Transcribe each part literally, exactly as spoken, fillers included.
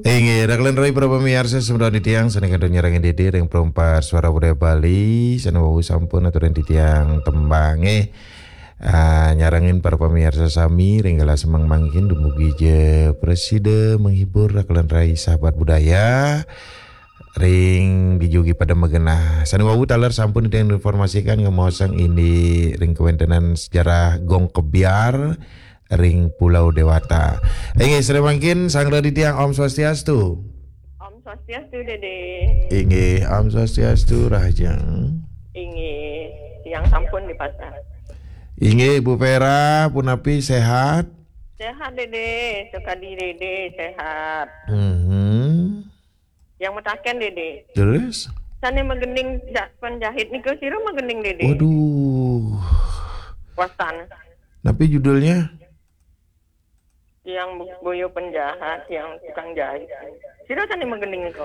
Inggih, rakelan rai para pamiarsa semeton titiang sané kantun nyarengin Dédé ring Perumpak Suara Budaya Bali, sané wau sampun aturin titiang tembangé. Ah, nyarengin para pamiarsa sami ring galah semeng mangkin dumugi ja prasida menghibur rakelan rai sahabat budaya. Ring dijugi pada magenah. Sané wau taler sampun titiang informasikan ngemaosang indik ring kawéntenan sejarah Gong Kebyar ring Pulau Dewata. Inggih, sané mangkin sareng titiang Om Swastiastu. Om Swastiastu, Dédé. Inggih, Om Swastiastu, Rahajeng. Inggih, tiang sampun di pasar. Inggih, Bu Vera, punapi, sehat? Sehat, Dédé. Sukadi Dédé sehat. Mhm. Yang mataken, Dédé. Terus? Sané magending ja-, penjahit nika sira magending, Dédé. Waduh. Wastan. Napi judulnya? Tiang bu-, boya penjahat, tiang tukang jahit. Sira sané magending nika.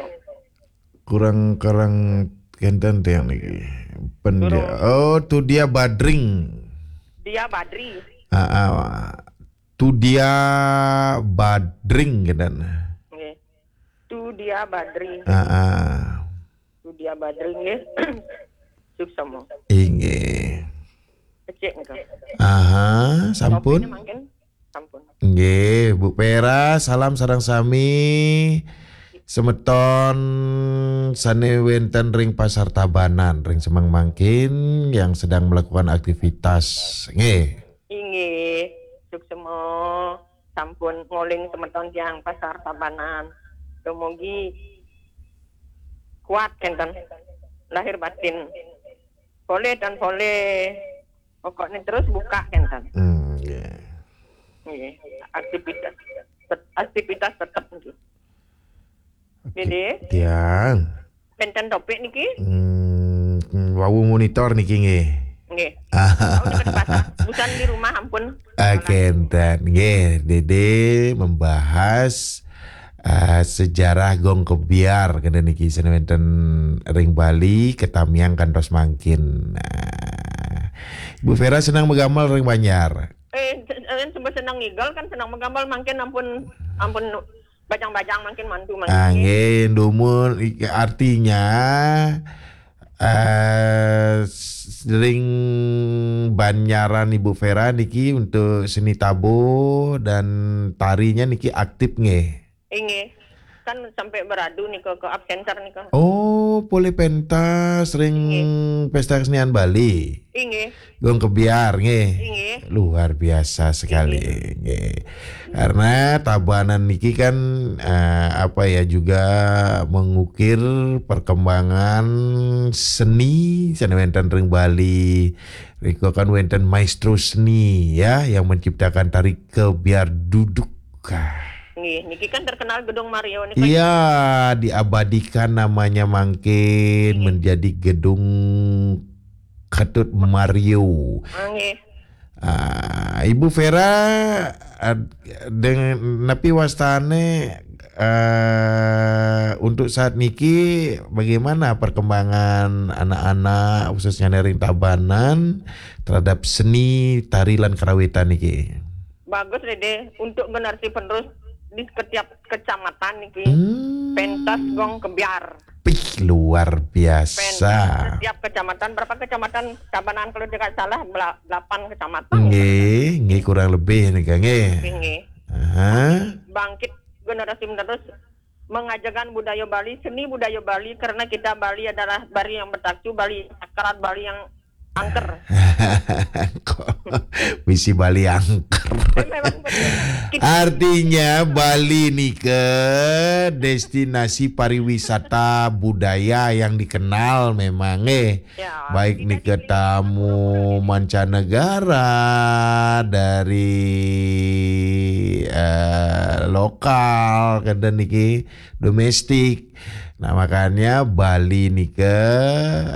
Kurang-kurang kénten tiang niki. Penja-, Durung. Oh, Tudia Badring. Dia Badri. Ah, ah. Tudia Badring kénten. Nggih. Tudia Badri. Ah, ah. Tudia Badri nggih. Suksma. Inggih. Becik nika. Aha, sampun. Topiknya mangkin sampun. Nggih, Bu Vera, salam sareng sami semeton sané wénten ring Pasar Tabanan, ring semeng mangkin yang sedang melakukan aktivitas. Nggih. Inggih, suksma sampun nguling semeton tiang Pasar Tabanan. Dumugi kuat kénten lahir batin. Polih tan polih. Pokoknya terus buka kénten. Hmm, nggih. Nggih, aktivitas tet-, aktivitas tetap nggih. Oke. Dédé? Tiang. Kénten topik niki? Hmm, wau monitor niki nggih. Nggih. Wau dekat pasar. Busan di rumah ampun. Ah, kénten nggih, Dédé membahas, ah, sejarah Gong Kebyar kénten niki sané wénten ring Bali, katamiang kantos mangkin. Nah, Bu Vera senang magamel ring Banjar. Eh, sen-, sen-, senang ngigel kan senang magamel mangkin ampun, ampun bajang-bajang mangkin mantu mangkin. Ah, nggih, dumun, i-, artinya, eh, s-, ring Banjaran Ibu Vera niki untuk seni tabuh dan tarinya niki aktif nggih. Inggih. Kan sampai beradu nika ke art center nika. Oh, polih pentas ring Inggih. Pesta Kesenian Bali. Inggih. Gong Kebyar nggih. Inggih. Luar biasa sekali nggih. Karena Tabanan niki kan, eh, apa ya, juga mengukir perkembangan seni sané wénten ring Bali. Rika kan wénten maestro seni ya yang menciptakan tari Kebyar Duduk. Nggih, niki kan terkenal Gedung Mario nika. Iya, diabadikan namanya mangkin menjadi Gedung Ketut Mario. Ah, nggih. Ah, Ibu Vera, ad-, deng-, napi wastane, eh, untuk saat niki bagaimana perkembangan anak-anak khususnya ring Tabanan terhadap seni tari lan karawitan niki? Bagus, Dede, untuk generasi penerus di setiap kecamatan niki. Hmm. Pentas Gong Kebyar. Pih, luar biasa. Pentas setiap kecamatan, berapa kecamatan Tabanan kalau tidak salah, bela-, delapan kecamatan. Nggih, nggih, kurang lebih nika, nggih. Nggih, nggih. Aha. Bangkit generasi menerus mengajarkan budaya Bali, seni budaya Bali, karena kita Bali adalah Bali yang bertacu, Bali yang sakral, Bali yang angker. Kok misi Bali angker? Eh, memang betul. Kita Artinya Bali nika destinasi pariwisata budaya yang dikenal memang, eh. Ya, baik kita nika di tamu mancanegara, dari, eh, lokal, kadang niki domestik. Nah, makanya Bali nika,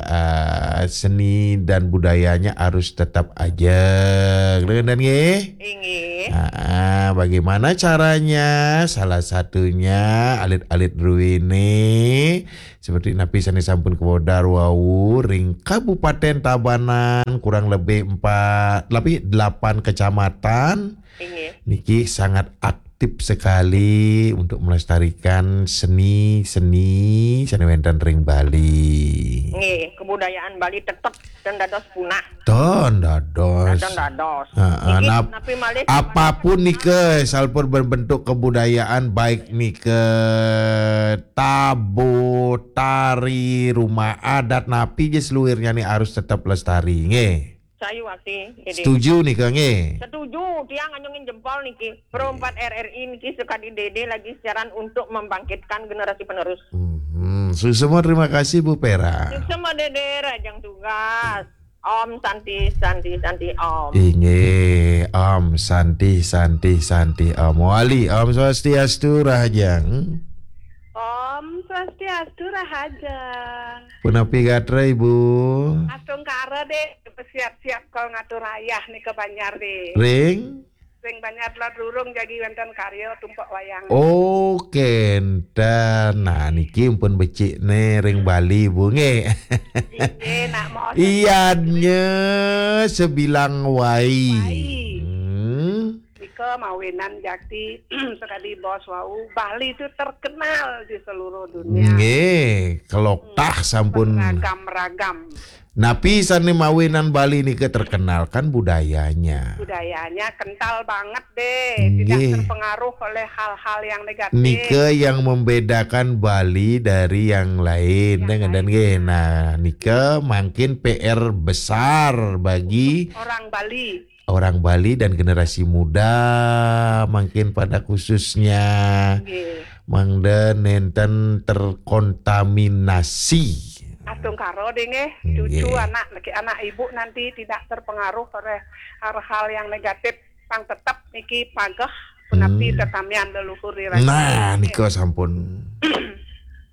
eh, seni dan budayanya harus tetap ajeg, dan nggih? Inggih. Ah, bagaimana caranya? Salah satunya alit-alit druene seperti napi sane sampun kawedar wau ring Kabupaten Tabanan, kurang lebih empat, lebih delapan kecamatan. Inggih. Niki sangat aktif wajib sekali untuk melestarikan seni-seni sane wenten ring Bali. Nggih, kebudayaan Bali tetep ten dados punah. Ten dados. Ten dados. Heeh, niki nap-, napi malih apapun nika, salpun berbentuk kebudayaan, baik nika tabo, tari, rumah adat, napi je seluirnya ni harus tetep lestari, nggih. Sayu ati, Dede. Setuju nika, nggih? Setuju, tiang anjungin jempol niki. Pro empat R R I niki sekadi Dede lagi siaran untuk membangkitkan generasi penerus. Mhm. Suksema, terima kasih, Bu Pera. Suksema, Dede, rahajeng tugas. Om Santi, Santi, Santi, Om. Inggih, Om Santi, Santi, Santi, Om. Wali, Om Swastiastu, rahajeng. Om Swastiastu, rahajeng. Punapi gatra, Ibu? Astungkara, Dek. Siap-siap kal ngatur ayah nika banjar, Dek. Ring? Ring banjar Teluk Rurung jagi wenten karya tumpek wayang. Oh, kenten. Nah, niki pun becik ne ring Bali, Bu, nggih. Inggih, nak mau. Ianya sebilang wai. Wai. Hmm. Nika mawinan jakti sekadi bos wau, Bali itu terkenal di seluruh dunia. Nggih, keloktah sampun. Beragam-ragam. Napi sane mawinan Bali nika terkenal kan budayanya. Budayanya kental banget, Dek. Tidak terpengaruh oleh hal-hal yang negatif. Nika yang membedakan Bali dari yang lain. Yang lain. Nggih. Nah, nika mangkin P R besar bagi orang Bali. Orang Bali dan generasi muda mangkin pada khususnya. Nggih. Mangda nenten terkontaminasi. Astungkara, Dek, nggih. Nggih. Cucu anak, anak ibu nanti tidak terpengaruh oleh hal-hal yang negatif, pang tetep niki pageh punapi tetamian leluhur ri. Nah, nika sampun.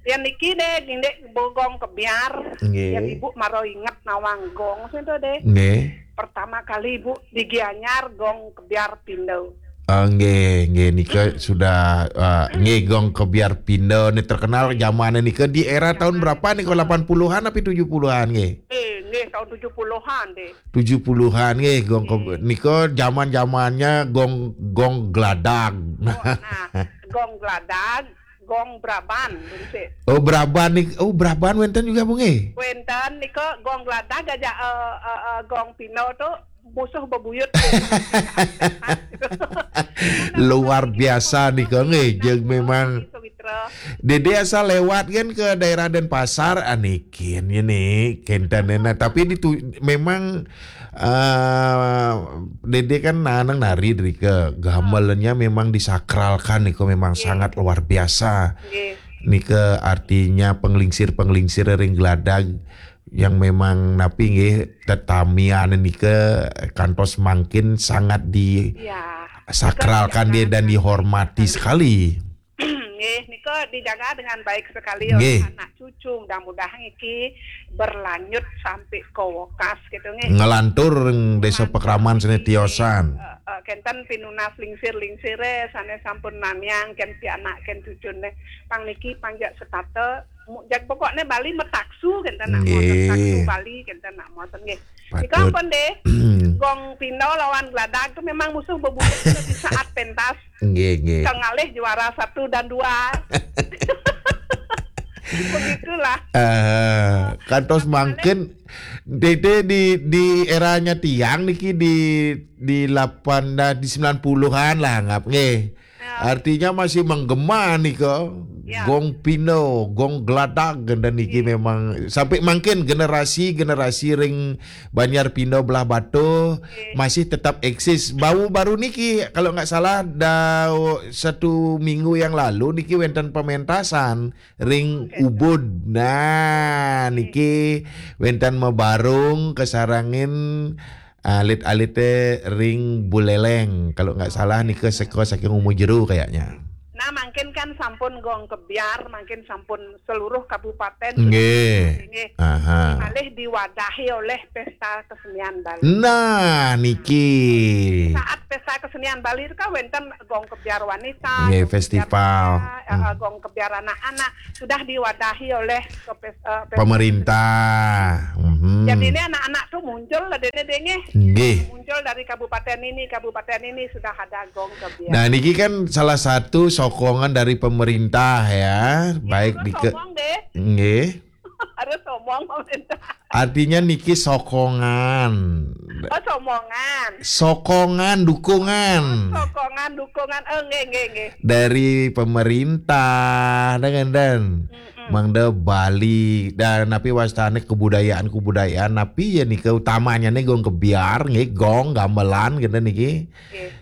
Yen niki, Dek, Dek, gong kebyar. Nggih. Yen ibu mara inget nawang gong sinten, Dek? Nggih. Pertama kali ibu di Gianyar gong kebyar pindo. Ah, nggih, nggih, nika sudah, ah, nggih, gong kebyar pindo ni terkenal zaman nika di era tahun berapa nika, lapan puluhan apa tujuh puluhan, nggih? Eh, nggih, tahun tujuh puluhan, Dek. Tujuh puluhan, nggih, gong ke-, nggih. Nika zaman-zamannya gong, gong geladag. Oh, nah, gong geladag, gong braban, berisik. Oh, braban ni, oh, braban wenten juga, Bu, nggih? Wenten nika gong geladag aja, eh, eh, eh, gong pindo tu musuh bebuyut. Luar biasa nika, nggih, jeung memang Dede asal lewat kan ke daerah Denpasar, anikin ini kenten. Nah, tapi ditu-, memang, eh, Dede kan nanang nari dari ke gamelannya memang disakralkan nika, memang sangat luar biasa. Nggih. Nika artinya penglingsir-penglingsir ring geladag yang memang napi nggih tetamian nika kantos mangkin sangat disakralkan dia dan dihormati sekali. Nggih, nika dijaga dengan baik sekali oleh anak cucu. Mudah-mudahan iki berlanjut sampai ke wekas gitu, nggih. Ngelantur ring desa pakraman sane tiosan. Eh, eh, kenten pinunas lingsir-lingsire sane sampun namiang ken pianak ken cucune. Pang niki panjak setata, mu-, jag pokokne Bali metaksu kenten nak moten, taksu Bali kenten nak moten, nggih. Nika patut. Ampun, Dek. Gong pindo lawan geladag tu memang musuh bebuyut di saat pentas. Nggih, nggih. Kengalih juara satu dan dua. Begitulah. Eh, kantos mangkin, Dede, di, di eranya tiang niki di, di lapan, di sembilan puluhan lah, anggap, nggih. Ya. Artinya masih menggema nika. Ya. Gong pindo, gong geladag, dan niki memang sampai mangkin generasi-generasi ring Banjar Pindo Belah Batu masih tetap eksis. Baru-baru niki, kalau nggak salah, da-, satu minggu yang lalu niki wenten pementasan ring Ubud. Nah, niki wenten mabarung kasarengin alit-alite ring Buleleng. Kalau nggak salah nika seka saking Umu Jeru kayaknya. Nah, mangkin kan sampun gong kebyar, mangkin sampun seluruh kabupaten. Nggih. Nggih. Aha. Malih diwadahi oleh pesta kesenian Bali. Nah, niki. Saat pesta kesenian Bali itu kan wenten gong kebyar wanita, nggih, gong kebyar festival pria, Ka- gong kebiar anak-anak sudah diwadahi oleh ke pes- eh, pes- Pemerintah. Mhm. Jadi ini anak-anak tuh muncul lah dene denge. Nggih. Muncul dari kabupaten ini, kabupaten ini sudah ada gong kebiar. Nah, niki kan salah satu sokongan dari pemerintah ya, baik di ke Ngomong deh. Nggih. Harus ngomong pemerintah. Artinya niki sokongan. Oh, somongan. Sokongan, dukungan. Sokongan, dukungan. Eh, nggih, nggih, nggih. Dari pemerintah, dengan dan Mangda Bali dan napi wastane kebudayaan-kebudayaan napi ya nika utamanya nih gong kebiar nggih gong gamelan kita niki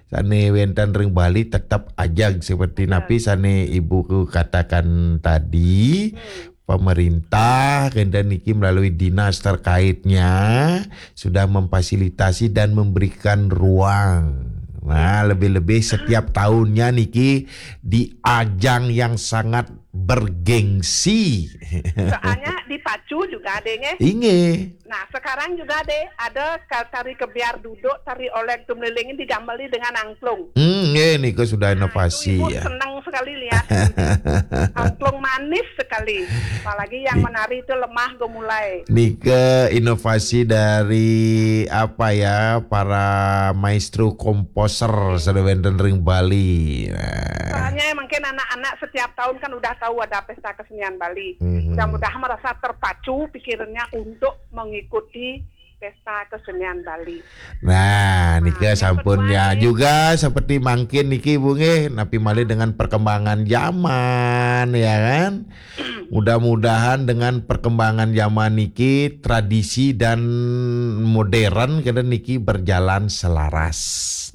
sane wenten ring Bali tetap aja seperti napi sane ibu ku katakan tadi pemerintah kenten niki melalui dinas terkaitnya sudah memfasilitasi dan memberikan ruang. Nah, lebih-lebih setiap tahunnya niki di ajang yang sangat bergengsi. Soalnya dipacu juga adanya. Inge. Nah, sekarang juga deh ada ka- tari kebiar duduk, tari oleng tumlilingin digambeli dengan angklung. Hmm, nggih, niku sudah inovasi ibu ya. Senang sekali lihat. Angklung manis sekali. Apalagi yang menari itu lemah gemulai. Nika inovasi dari apa ya para maestro komposer sudah wenten ring Bali. Nah. Soalnya mungkin anak-anak setiap tahun kan udah tahu ada pesta kesenian Bali. Mhm. Mudah-mudahan merasa terpacu pikirannya untuk mengikuti pesta kesenian Bali. Nah, nika sampun ya juga seperti mangkin niki Bu nggih, napi malih dengan perkembangan zaman ya kan. Mudah-mudahan dengan perkembangan zaman niki tradisi dan modern kena niki berjalan selaras.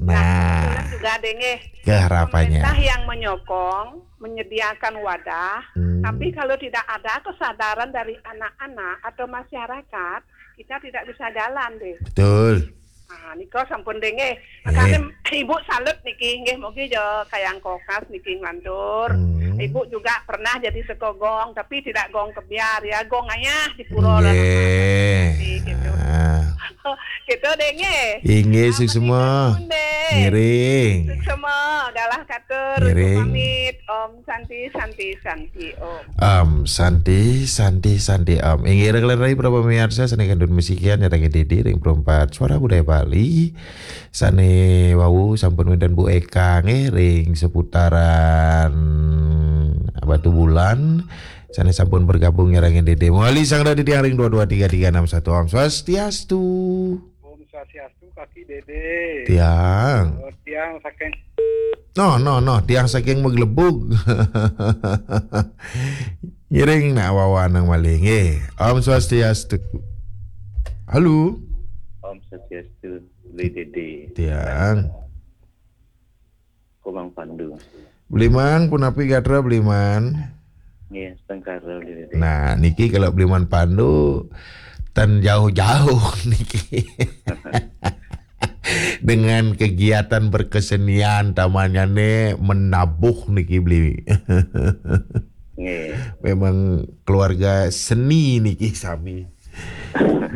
Nah, juga deh nggih. Keharapannya. Pemerintah yang menyokong menyediakan wadah, hmm. Tapi kalau tidak ada kesadaran dari anak-anak atau masyarakat, kita tidak bisa jalan deh. Betul. Nah, nika sampun dengeh. Makanya ibu salut niki nggih mugi jo kayang kokas niki nglantur. Hmm. Ibu juga pernah jadi sekogong tapi tidak gong kebiar ya, gong ayah di pura lah. Gitu. Gitu dengeh. Inggih suksma. Ngiring. Suksma galah katur. Ngiring. Pamit. Om Santi, Santi, Santi, Om. Om Santi, Santi, Santi, Om. Inggih ring rai para pemirsa sane kandun musikian nyatake didi ring perempat suara budaya Bali. Sane wau sampun wenten Bu Eka nggih ring seputaran Batu Bulan. Sane sampun bergabung nyarengin didi. Mawali sang dadi tiang ring dua dua tiga tiga enam satu. Om Swastiastu. Om Swastiastu, Kaki Dede. Tiang. Oh, tiang saking. No, no, no, tiang saking maglebug. Ngiring nak wawanang malih nggih. Om Swastiastu. Halo. Om Swastiastu, Beli Dede. Tiang. Komang Pandu. Beliman, punapi gatra Beliman? Nggih, sengkara Beli Dede. Nah, niki kalau Beliman Pandu tan jauh-jauh niki. Dengan kegiatan berkesenian tamanya ne menabuh niki beli. Nggih. Memang keluarga seni niki sami.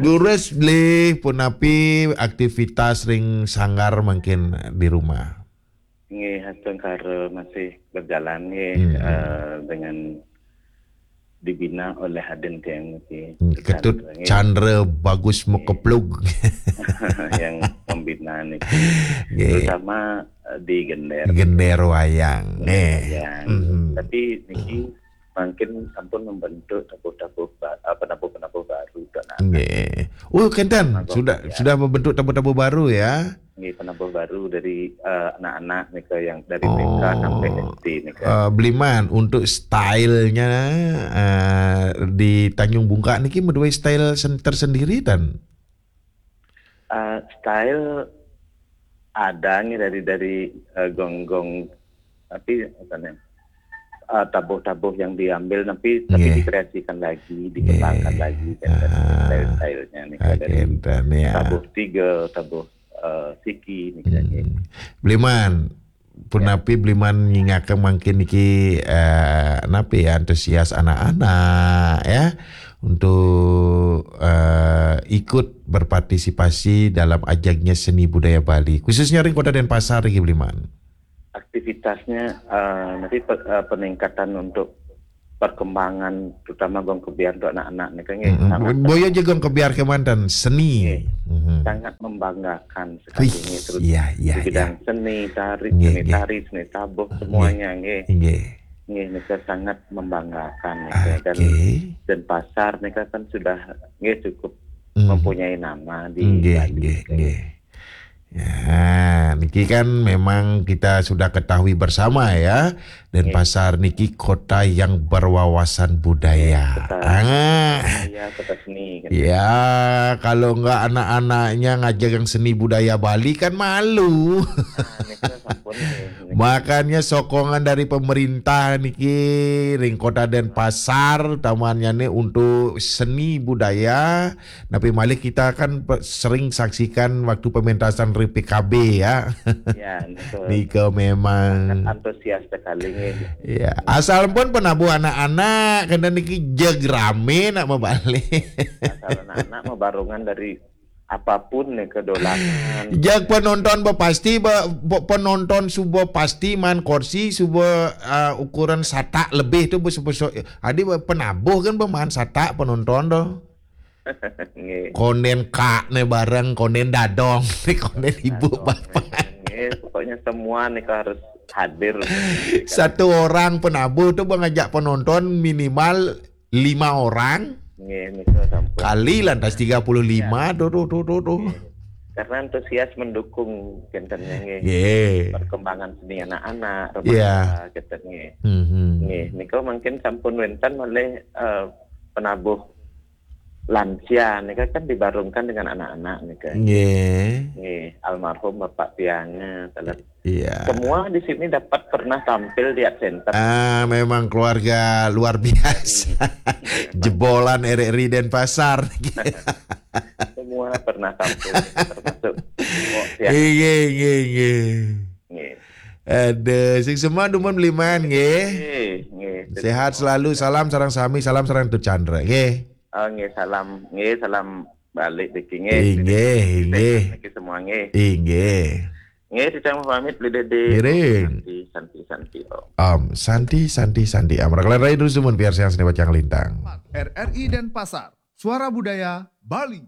Gurus beli punapi aktivitas ring sanggar mungkin di rumah. Nggih, sengkara masih berjalan nggih, hmm. Eh, dengan dibina oleh Hadin Tiang niki. Hmm, Ketut Chandra Bagus Mekeplug. Yang membina niki. Nggih. Terutama eh, di gender. Gender wayang. Gender wayang. Hmm. Tapi niki mungkin sampun membentuk tabuh-tabuh ba- eh, penabuh-penabuh baru. Nggih. Oh, kenten sudah ya. Sudah membentuk tabuh-tabuh baru ya. Nggih, penabuh baru dari eh, anak-anak nika yang dari T K sampai S D nika. Eh, Beliman, untuk stylenya eh, di Tanjung Bungka niki meduwe style sen- tersendiri tan? Eh, style ada nih dari dari eh, gong-gong tapi misalnya eh, tabuh-tabuh yang diambil tapi tapi dikreasikan lagi, dikembangkan lagi kan, style-stylenya nih kan, dari tabuh tiga, tabuh eh, siki nih kan. Beliman, punapi Beliman nyingaken mangkin niki eh, napi ya antusias anak-anak ya untuk eh, ikut berpartisipasi dalam ajangnya seni budaya Bali khususnya ring Kota Denpasar niki Beliman. Aktivitasnya eh, nanti pe- eh, peningkatan untuk perkembangan, terutama gong kebiar untuk anak-anak nih kan, nggih, Mm-mm. sangat Boyo je gong kebiar kemanten seni. Nggih. Mhm. Sangat membanggakan sekali Wih, nggih, terus iya, iya, di bidang iya. seni, tari, Nggih, seni nggih. Tari, seni tabuh, semuanya nggih. Nggih. Nggih, nika sangat membanggakan nika. Dan Oke. Denpasar nika kan sudah nggih cukup Hmm. mempunyai nama di Nggih, Bali. nggih, nggih. Ya, niki kan memang kita sudah ketahui bersama ya, Denpasar niki kota yang berwawasan budaya. Kota Ah, Iya, kota seni kan. ya, kalau enggak anak-anaknya ngajar yang seni budaya Bali kan malu. Nah, nika sampun nggih. Makanya sokongan dari pemerintah niki ring Kota Denpasar tamannya nih untuk seni budaya. Tapi malih kita kan pe- sering saksikan waktu pementasan ring P K B ya. Ya, betul. Nika memang Antusias sekali nggih. Ya, asal pun penabuh anak-anak kena niki jeg rame nak mabalik. Asal anak-anak mau barongan dari apapun nih kedolanan. Jeg penonton ba pasti ba, ba- penonton suba pasti maan kursi suba uh, ukuran satak lebih tu besok-besok. Adi ba penabuh kan ba maan satak penonton tu. Nggih. Konden kak ne bareng konden dadong ne konden ibu Dadong, bapak. Nggih, pokoknya semua nih harus hadir. Satu orang penabuh tu ba ngajak penonton minimal lima orang Nggih, nika sampun. kali lantas tiga puluh lima tu tu tu tu tu. Karena antusias mendukung kinten nggih. Ye. Perkembangan seni anak-anak, Iya. remaja kinten nggih. Mhm. Nggih, nika mungkin sampun wenten malih eh, penabuh lansia nika kan dibarungkan dengan anak-anak nika. Nggih. Nggih, almarhum Bapak Pianga, telah Iya. semua di sini dapat pernah tampil di Art Center. Ah, memang keluarga luar biasa. Jebolan R R I Denpasar. Semua pernah tampil, termasuk Mbok ya. Nggih, nggih, nggih. Nggih. Aduh, sing semua dumun beliman nggih. Nggih, nggih. Sehat selalu, salam sareng sami, salam sareng Tut Chandra nggih. Oh, nggih, salam, nggih, salam balik niki nggih. Inggih, inggih. Niki semua nggih. Inggih. Nggih, Cicang pamit Beli Dede. Miring. Santi, santi, santi. Om. Om Santi Santi Santi Om. Rakalan rai terus dumun piarsian seni bacang lintang. R R I Denpasar, Suara Budaya Bali.